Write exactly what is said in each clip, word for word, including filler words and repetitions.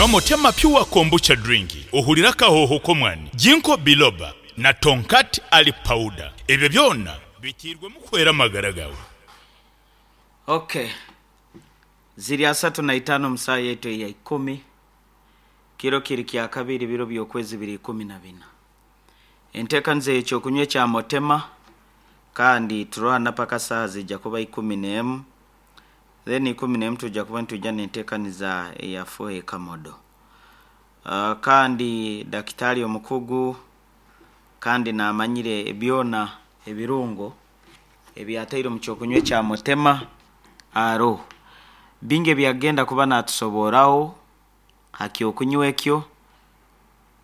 Nywa Motema Pure Kombucha Drink, ohulire akahooho k'omwani, Ginkgo Biloba na Tongkat Ali Powder. Ebyo byona bitiirwemu kuhwera amagara gaawe. Okay, ziri asatu na itaano mu saaha yaitu eya ikumi, kiro kiri kya kabiri, biro by'okwezi biri ikumi na bina. Enteekaniza ey'ekyokunywa ekya Motema, kandi turwana paka saaha zijja kuba ikumi n'emu, then ikumi n'emu tujja kuba nitwija n'enteekaniza eya Fuhe Kamodo. Uh, kandi dakitari omukugu kandi naamanyire byona ebirungo ebyataire omu kyokunywa ekya Motema aroho. Bingi ebyagenda kuba naatusoborraho ha kyokunywa ekyo,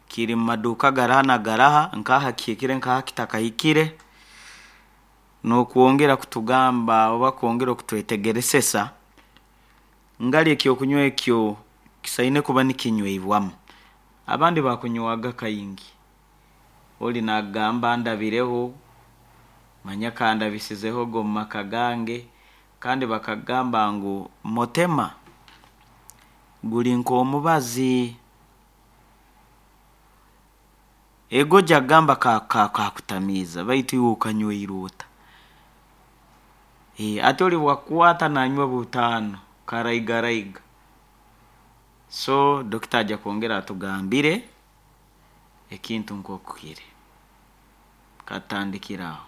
kiri mu maduuka garaha na garaha, nkaha kihikire nkaha kitakahikire, n'okwongera kutugamba oba kwongera okutwetegeresesa ngali ekyokunywa ekyo kisaine kuba nikinywibwamu. Abandi bakunywaga kaingi, oli naagamba ndabireho, manya kandabisizehoga omu maka gange, kandi bakagamba ngu Motema guli nk'omubazi. Ego ojja kugamba kakutamiiza baitu iwe okanywire ota? Hati oli obu akukwata nanywa butaano karaigaraiga. So dokita ajja kwongera atugambire ekintu nkooku kiri, katutandikire aho.